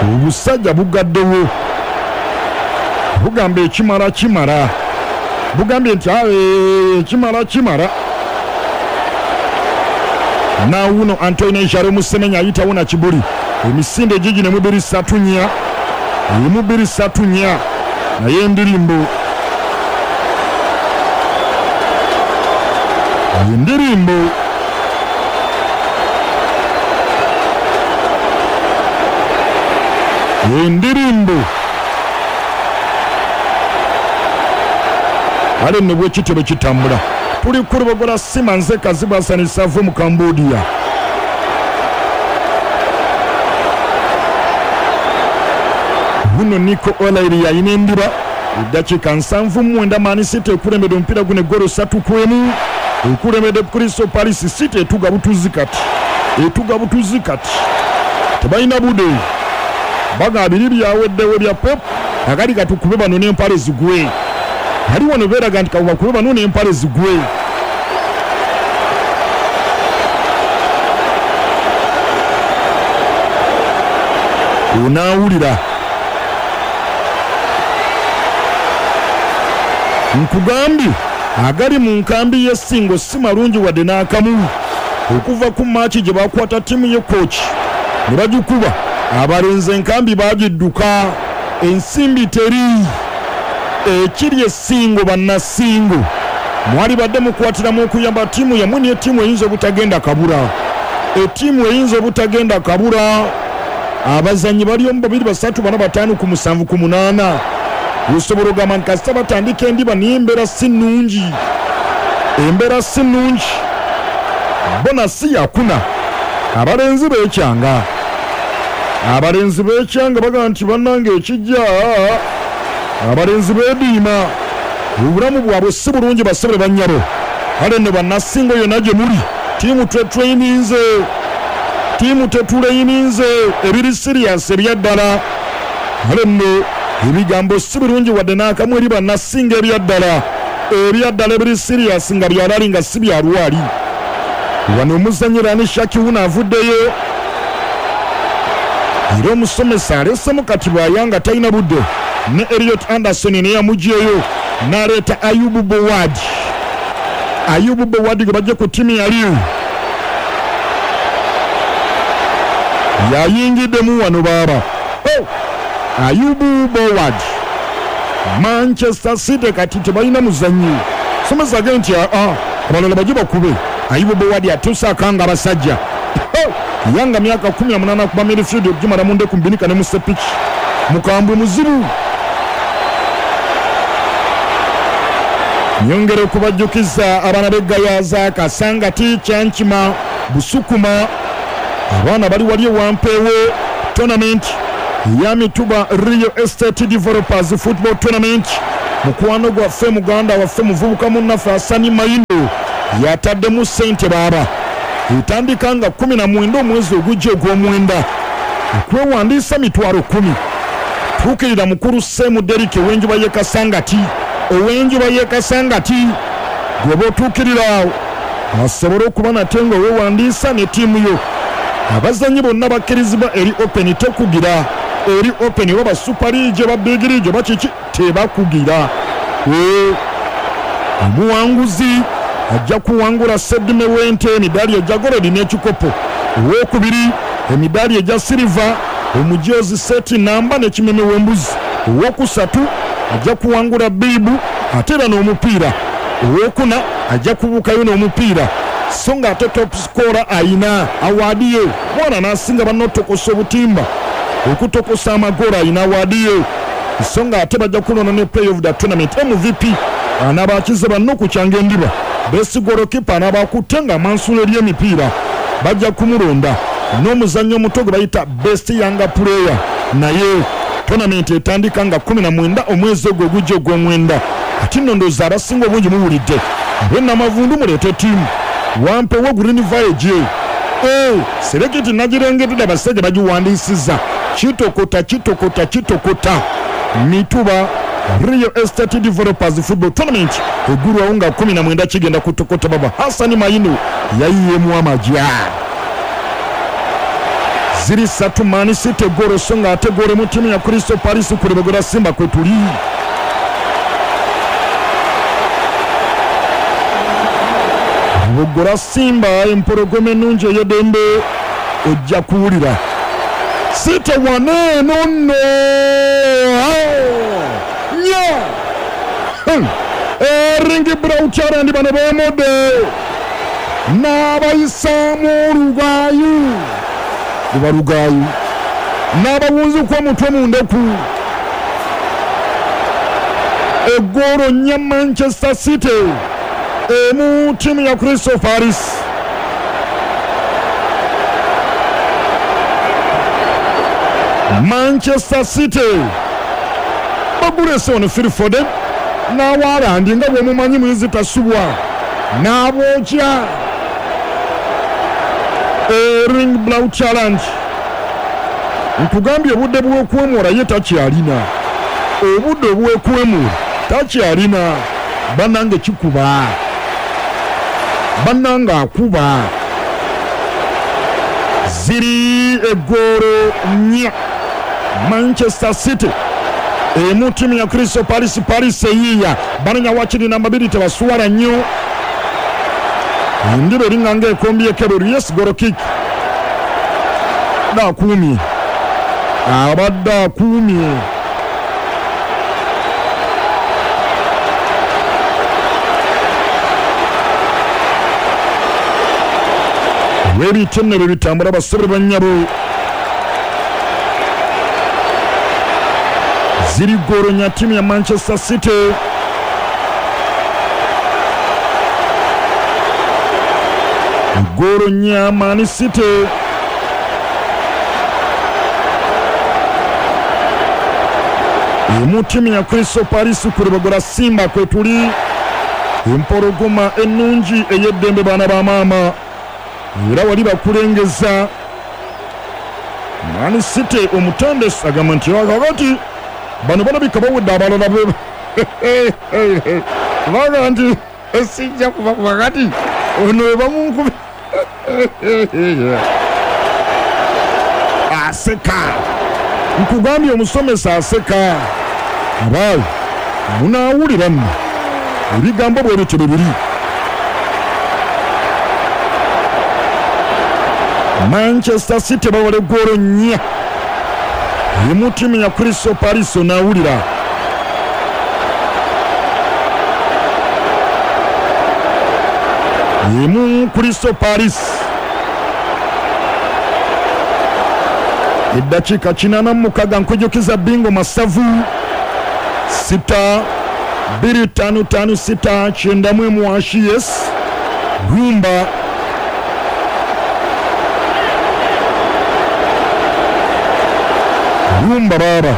Obusajja bugaddewo bugamba ekimala kimala, bugambye nti ekimala kimala. Nawuno Antoine Jaro Musemenya ayitawo na kibuli emisinde gigino emu bbiri ssatu nnya emu bbiri ssatu nnya naye endirimbo endirimbo endirimbo kale nno bwekityo bwe kitambula. Tuli ku Lubogola Sima, nze Kazibu Hassan Ssavu mu Cambodia. Wuno Nico O'Reilly yalina endiba eddakiika 79 Man City ekulembedde omupiira guno eggolo 3-1 ekulembedde Crystal Palace. City etuga butuzi kati, etuga butuzi kati, tebalina bude baga biri byaweddewo bya Pep akali katukube bano n'empale zigwe. Ali wano beeraga nti kabakube bano n'empale zigwe. Onaawulira nkugambye agali mu nkambi y'essingo si malungi wadde n'akamu. Okuva ku maaki gye bakwata ttiimu ye kooki ne bagikuba abalenzi enkambi bagidduka, ensimbi teri. Ekiri essingo bannassingo mwali badde mukwatiramu okuyamba ttiimu yammwe, naye ttiimu eyinza obutagenda kabura, ettiimu eyinza obutagenda kabura. Abazannyi bali omu babiri basatu bana bataano ku musanvu ku munaana. Osobola ogamba nti kasita batandika endiba naye embeera si nnungi, embeera si nnungi. Bona si yakuna, abalenzi beekyanga, abalenzi beekyanga bagamba nti bannange ekijja, abalenzi beediima, obulamu bwabwe si bulungi bassebo ne bannyabo. Kale nno bannassingo yonna gye muli, ttiimu twetrayininze, ttiimu tetuleyininze, ebiri siriyasi ebya ddala. Kale nno ebigambo si birungi wadde n'akamu eri bannassingo ebya ddala, ebya ddala ebiri siriyasi nga byalali nga si bya lwali. Wano omuzannyi Rani Shaki wuno avuddeyo era omusomesa alesemu kati bw'ayanga talina budde ne Elliot Anderson naye yamuggyeyo n'aleeta Ayubu Bowad. Ayubu Bowad gwe bajje ku ttiimu ya Lille yayingiddemu wano baaba. Oh! Ayubu Bowad. Manchester City kati tebalina muzannyi. Somesa agambye nti aa abalala bajje bakube. Ayubu Bowad atuuse akanga abasajja. Oh! Yanga myaka 18 akuba midfield okugimala mu ndeku mu binika ne mu sepiki. Mukambwe muzibu. Nyongera okubajjukiza abaana b'e Gayaza, Kasangati, Kyankima, Busukuma, abaana bali wali ewampeewo tournament eya Mituba Real Estate Developers Football Tournament. Mukwano gwaffe, muganda waffe, muvubuka munnaffe Hasani Mayindo yataddemu ssente baaba. Etandika nga 19 omwezi ogujja ogw'omwenda. Okwewandiisa mitwalo kkumi. Tuukirira mukulu Sseemu Derrick ow'enjuba y'e Kasangati, ow'enjuba y'e Kasangati gw'oba otuukirira awo asobole okuba nate nga weewandiisa ne ttiimu yo. Abazannyi bonna bakkirizibwa eri open tekugira eri open oba ba Super League oba Big League oba kiki tebakugira. Eeh omuwanguzi ajja kuwangula sseddume w'ente, emidaali egya golodi n'ekikopo. Owookubiri emidaali egya siriva, omujoozi seeti nnamba n'ekimeme w'embuzi. Owookusatu ajja kuwangula bbiibu ate era n'omupiira. Owookuna ajja kubuukayo n'omupiira so ng'ate top scorer alina awaadi ye. Mwana n'asinga banne otokosa obutimba, okutokosa amagoolo alina awaadi ye. So ng'ate bajja kulonda ne player of the tournament, MVP, anaaba akize banne okukyanga endiba. Best goalkeeper anaaba akutte ng'amansula eri emipiira bajja kumulonda n'omuzannyi omuto gwe bayita Best Younger Player naye. Tournament etandika nga 19 omwezi ogwo ogujja ogw'omwenda. Kati nno ndowooza abasinga obungi muwulidde. Ab'e Namavundu muleete ttiimu. Wampewo Green Valley E Selekiti nagirengedde abasajja bagiwandiisizza. Kitokota kitokota kitokota. Mituba Real Estate Developers Football Tournament eggulwawo nga 19 kigenda kutokota baba. Hassan Mayinu yayiyeemu amagya. Ziri ssatu Man City goolo so nga ate goolo mu ttiimu ya Crystal Palace ku Lubogora Simba kwe tuli. Lubogora Simba empologoma ennungi ey'eddembe ojja kuwulira. City wano eno nno nya Erling Braut Haaland bano beemodde n'abayisaamu olugaayu luba lugaayu n'abawunzika omutwe mu ndeku eggoolo nnya Manchester City emu ttiimu ya Crystal Palace. Manchester City bagulese wano Phil Foden n'Haaland nga bw'omumanyi muyizi tasubwa n'abookya Erling Braut Haaland. Nkugambye obudde bw'okwemula ye takyalina, obudde obw'okwemula takyalina. Bannange kikuba, bannange akuba. Ziri eggoolo nnya Manchester City emu ttiimu ya Crystal Palace. Palace eyiiya banonya wakiri namba 2 tebasuwala nnyo. Endiba eringa ng'ekombyeko ebweru. Yes, goal kick. Akuumye, abadde akuumye. Lw'ebityo nno bwe bitambula basebo bannyabo. Ziri goolo nya ttiimu ya Manchester City. Goolo nnya Man City. Emu ttiimu ya Crystal Palace ku Lubogora Simba kwe tuli. Empologoma ennungi ey'eddembe baana ba maama era wali bakulengeza. Man City omutendesi agamba nti kakati bano balabika bawedde abalala be baga nti sijja kubakuba kati ono we bamunkuba aseka. Nkugambye omusomesa aseka. Abaayi munaawulira nno ebigambo bwe bityo bwe biri. Manchester City bawala eggoolo nnya emu ttiimu ya Crystal Palace onaawulira. Emu Crystal Palace. Eddakiika 86 nkujjukiza bingo masavu 6 2 5 5 6 9 mwashi. Yes, rumba rumba baba.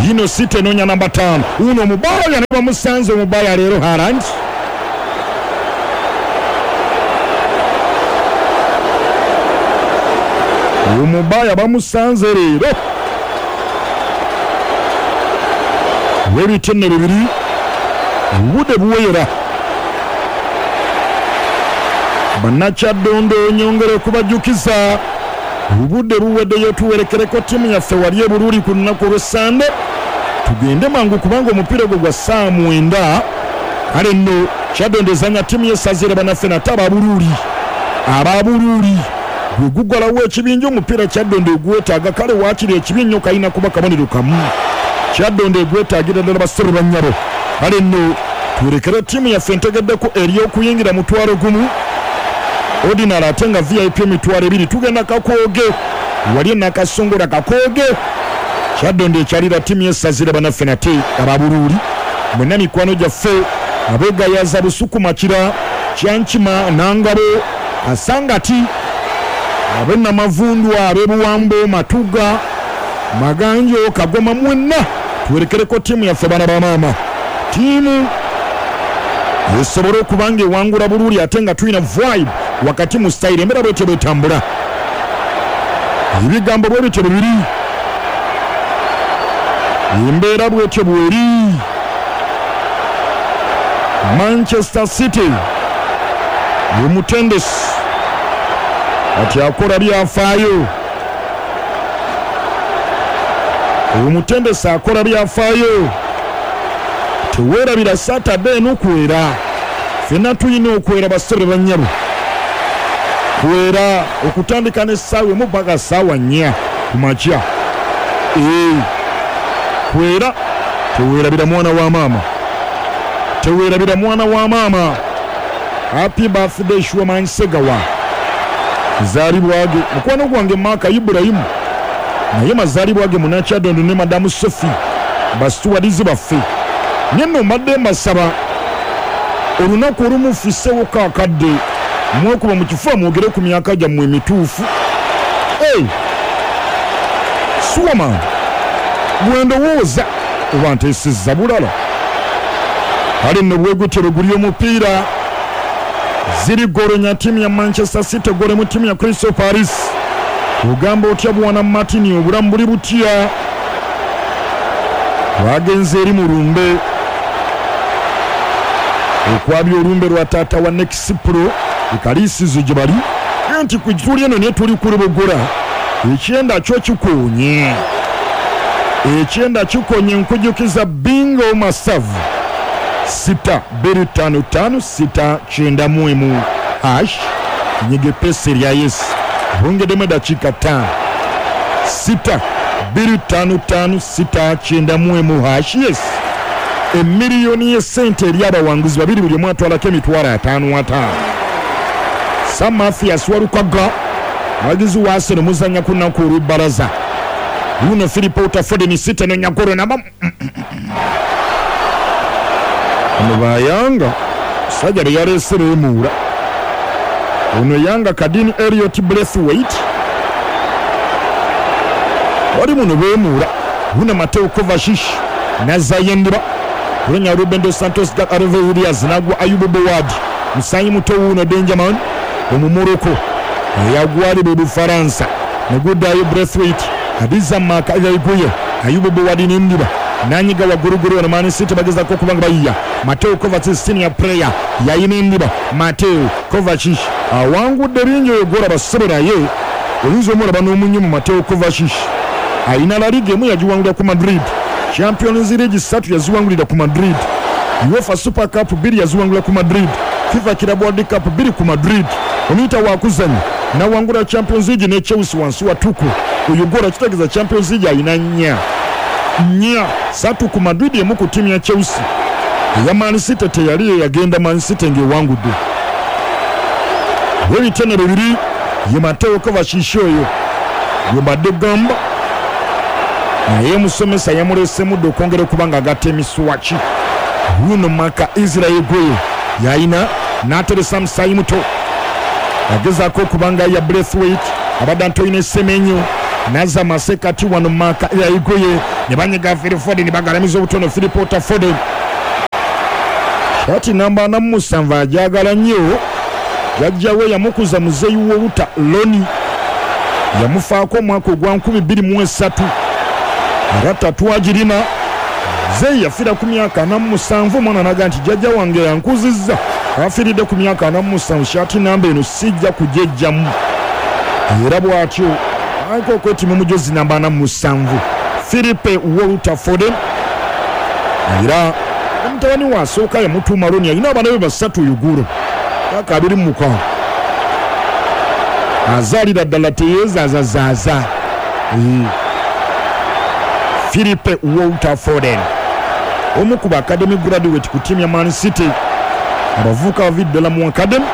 Yino City enonya namba 5. Uno mubaya ne bamusanze mubaya leero Haaland. Omubaya bamusanze leero. Webityo nno bibiri obudde buwera. Bannakyadondo nyongere okubajjukiza obudde buweddeyo, tuwerekereko ttiimu yaffe wali e Buruuli ku lunaku olw'Essande. Tugende mangu kubanga omupiira ogwo gwa ssaawa 9. Kale nno Kyaddondo ezannya ttiimu y'essaza bannaffe nate Ababuruuli. Ababuruuli gwe gugalawo ekibinja omupiira Kyaddondo egwetaaga. Kale waakiri ekibi ennyo kalina kuba kabonero kamu. Kyaddondo egwetaagira ddala bassebo bannyabo. Kale nno tuwerekere ttiimu yaffe ntegeddeko ery'okuyingira 50,000 ordinary ate nga VIP 20,000. Tugenda Kakooge wali Nakasongola Kakooge. Kyaddondo ekyalira ttiimu y'essaza bannaffe nate Ababuruuli. Mwenna mikwano gyaffe abeegayaza Busukuma Kira, Kyankima, Nangabo, Kasangati, ab'e Namavundwa, ab'e Buwambo, Matuga, Maganjo, Kagoma, mwenna tuwerekereko ttiimu yaffe baana ba maama. Ttiimu esobole okuba nga ewangula Buruuli ate nga tulina vibe wakati mu style embeera bwetyo bwetambula. Ebigambo bwe bityo bibiri, embeera bwetyo bweri. Manchester City omutendesi Kati akola byafaayo. Omutendesi akola byafaayo. Teweerabira Saturday eno kwera. Ffenna tulina okwera bassebo bannyabo. Kwera okutandika n'essaawa emu paka ssaawa nnya ku makya. Ee, kwera teweerabira mwana wa maama. Teweerabira mwana wa maama. Happy birthday Shuaman Segawa. Mazaalibwa ge mukwano gwange Mark Ibrahim naye mazaalibwa ge Munakyadondo ne Madamu Sophie basituwadizi baffe. Nye nno mbadde mbasaba olunaku olumu fissewoko akadde mwekuba mu kifuba mwogere ku myaka gyammwe emituufu. Hey! Shuaman bwe ndowooza oba nteesezza bulala. Kale nno bwegutyo bwe guli omupiira. Ziri ggoolo nya ttiimu ya Manchester City ggoolo mu ttiimu ya Crystal Palace. Ogamba otya bwana Martin, obulamu buli butya? Lwagenze eri mu lumbe okwabya olumbe lwa taata wa Nexpro ekaliisizo gye bali nti ku tuli eno naye tuli ku Lubogora ekyenda kyo kikoonye ekyenda kikonye nkujukiza bingo masavu sita bbiri ttaano ttaano sita kyenda mu emu hash nyiga epesa erya Yesu bongedemu eddakiika ttaano sita bbiri ttaano ttaano sita kyenda mu emu hash yes emiliyoni y'essente eri abawanguzi babiri buli omu atwalako emitwalo ataano ataano. Sam Mathias Walukaga abagizi wa Arsenal muzannya ku lunaku olw'ebbalaza. Wuuno Philip Otafoden City enonya ggoolo namba Bano ba Yanga omusajja be yaleese beemuula. Ono Yanga Kadini Elliot Braithwaite bali muno beemuula. Wuuno Mateo Kovacic n'azzaayo endiba kulonya Ruben dos Santos Gareth Diaz n'agwa Ayubu Bouad musaayi muto wuuno Dangerman Omumorocco eyagwalibwa e Bufaransa ne guddaayo Braithwaite Hadiza Maka Yaiguye Ayubu Bouad n'endiba n'anyiga wagguluggulu wano Man City bagezaako okuba nga bayiya Mateo Kovacic senior player yayina endiba Mateo Kovacic awangudde bingi oyo gw'olaba ssebo naye oyinza omulaba n'omunyumu Mateo Kovacic alina La Liga emu yagiwangulira ku Madrid, Champions League ssatu yaziwangulira ku Madrid, UEFA Super Cup bbiri yaziwangulira ku Madrid, FIFA Club World Cup bbiri ku Madrid. Omuyita wakuzannya n'awangula Champions League ne Chelsea wansi wa Tuchel. Oyo gw'olaba kitegeeza Champions League alina nnya nnya, ssatu ku Madrid emu ku ttiimu ya Chelsea. Eya Man City teyali eyagenda Man City ng'ewangudde. W'ebitone bibiri ye Mateo Kovacic oyo gwe mbadde gamba naye omusomesa yamuleesemu dda okwongera okuba ng'agatta emiswaki. Wuuno Maka Israel Gueye yalina n'ateresa musaayi muto agezaako okuba nga ya Braithwaite abadde Antoine Semenyo n'azza masekati wano Maka Israel Gueye ne banyiga Phil Foden bagalamiza obutono Phil Potter Foden kati namba ana mu musanvu agyagala nnyo jjajja we yamukuza muzeeyi w'oluta Loni yamufaako omwaka ogwa 2003 era tatwagirina muzeeyi yafiira ku myaka 47 omwana n'aga nti jjajja wange yankuzizza afiiridde ku myaka 47 shaati namba eno sijja kugyejjamu era bw'atyo aliko okwetima omujozi namba 47 Philippe Walter Foden era mutabani we asooka yamutuuma Loni alina abaana be basatu Uguro myaka 26 azaalira ddala teyeezaazazaaza. Philippe Walter Foden omu ku ba academy graduate ku ttiimu ya Man City abavubuka bavi ddala mu academy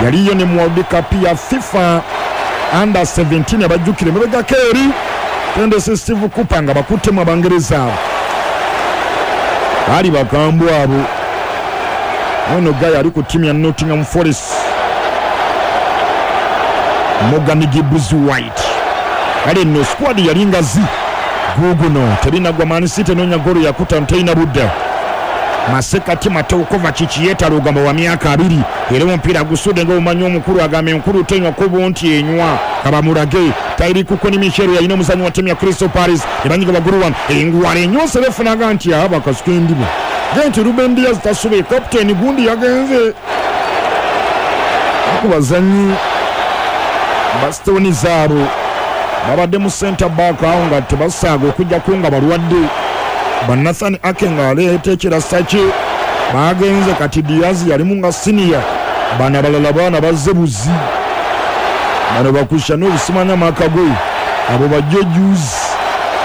yaliyo ne mu World Cup ya FIFA under 17 abajjukira emabegako eri tendesi Steve Cooper nga bakuttemu Abangereza abo baali bakambwe abo. Ono guy ali ku ttiimu ya Nottingham Forest Morgan Gibbs White. Kale nno squad yali ngazi guuguno tebinagwa Man City enoonya ggoolo yakutaano terina budde. Masekati Mateo Kovacic yeetala ogamba wa myaka abiri era omupiira gusudde nga omanyi omukulu agamba enkulu tenywa kubo nti enywa kabamulage Tairi Kukoni Michel yalina omuzanyi wa ttiimu ya Crystal Palace ne banyiga waggulu wano engwala enyonse befunaga nti aba akasuka endiba ge nti Ruben Diaz tasube kapiteeni gundi yagenze ku bazannyi Ba Stones abo babadde mu center back awo nga tebasaaga okujjako nga balwadde. Ba Nathan Ake nga aleeta ekirasa kye bagenze, kati Diaz yalimu nga senior. Bano abalala baana bazze buzi, bano bakusha n'obusimanya maka ge, abo bajjo juzi.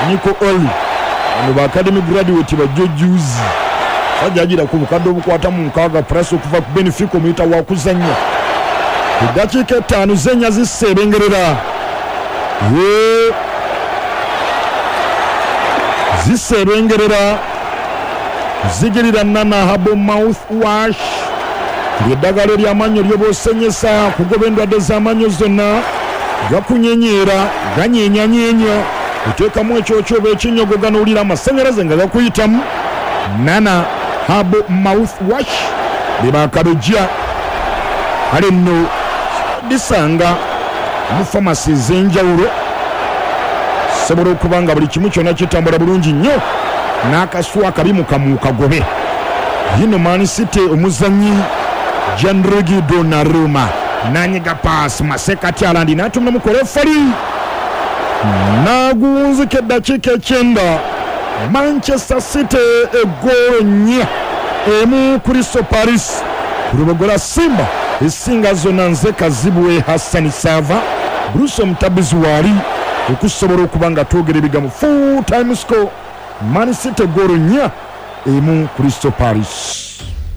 Nico Oli, bano ba academy graduate bajjo juzi. Sajja agira ku bukadde obukwata mu 60 plus okuva ku Benfica, omuyita wa kuzannya. Eddakiika 5 zenya ziseebengerera, ye ziseebengerera. Zigirira Nana Herbal Mouth Wash, lyeddagala eryamannyo lyoba osenyesa kugoba endwadde z'amannyo zonna. Gakunyenyeera, ganyenyanyeenya, oteekamu ekyokyo oba ekinyogo, ganowulira amasanyalaze nga gakuyitamu. Nana Herbal Mouth Wash bebakabejja. Kale nno disanga mu famasi ez'enjawulo, sobola okuba nga buli kimu kyonna kitambula bulungi nnyo, n'akaswa akabi mukamuukagobe. Yino Man City, omuzannyi Gianluigi Donnarumma nanyiga paasi masekati alandi n'atumula mu kolefali n'agunzika. Eddakiika 9, Manchester City eggoolo 4 1 Crystal Palace. Ku Lubogola Simba esinga zonna, nze Kazibwe Hassani Saava. Bruce Omutabizi waali okusobola okuba nga twogera ebigambo. Full time score, Man City goolo 4-1 Crystal Palace.